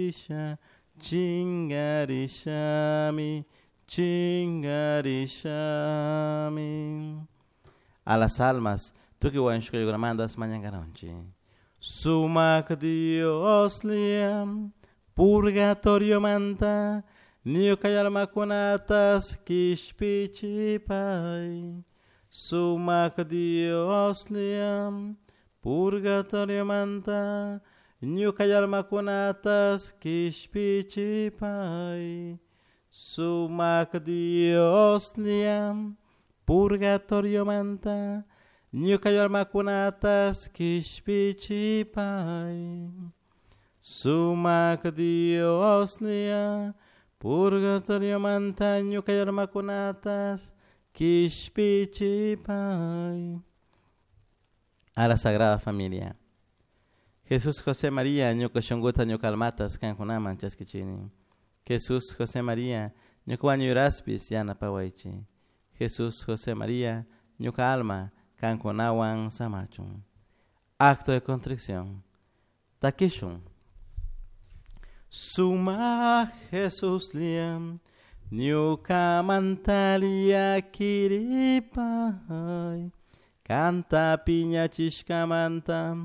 Chingarisha, chingarishami, chingarishami. A las almas, tukuy wañushkakunamantas mañankanunchik. Sumak Dioslla, purgatoriomanta, ñuka almakunatas kishpichipay. Sumak Dioslla, purgatoriomanta, ñuka almakunatas kishpichipay. Sumak Dioslla, purgatoriomanta, ñuka almakunatas kishpichipay. Sumak Dioslla, purgatoriomanta, ñuka almakunatas kishpichipay. A la Sagrada Familia. Jesús José María, ñuka shunkuta ñuka almatas kankunaman chaskichini. Jesús José María, ñuka wañuyraspis yanapawaychik. Jesús José María, ñuka alma kankunawan samachun. Acto de contrición. Takishun. Sumak Jesuslla, ñukamanta llaquiripay, kanta piñachishkamanta.